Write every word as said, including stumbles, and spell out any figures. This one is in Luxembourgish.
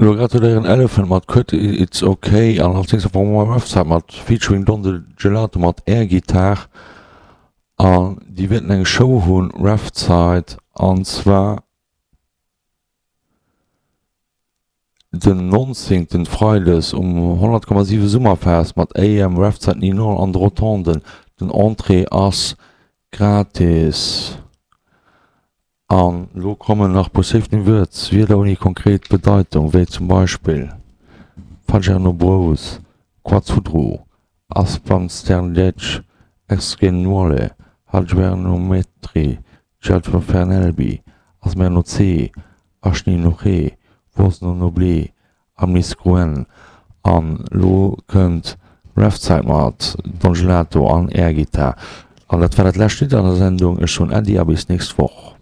Lo gratuléieren Elephant mat Cut It's Ok an als nächstes brauche mer Website mat featuring Don Gelato mat Air Guitar an déi wäerten eng Show hunn Website an zwar den nonzéngten Freides um honnert Komma siwe Summerfest mat A M Website Ninon an de Rotonden. Den Entrée ass gratis. An lo kommen nach puer Safety Words, Wierder ouni konkret Bedeitung, wéi zum Beispill Fagiano Bros, Quazudru, Aspansternletsch, Exgenuole, Hadjuernometri, Gialfernelbi, Asmernoce, Aschninoche, Vosnonoble, Amnisgruen. An lo kënnt Refzäit mat Don Gelato an Air Guitar. An dat war dat lescht Lidd an der Sendung. Ech soen Äddi a bis nächst Woch.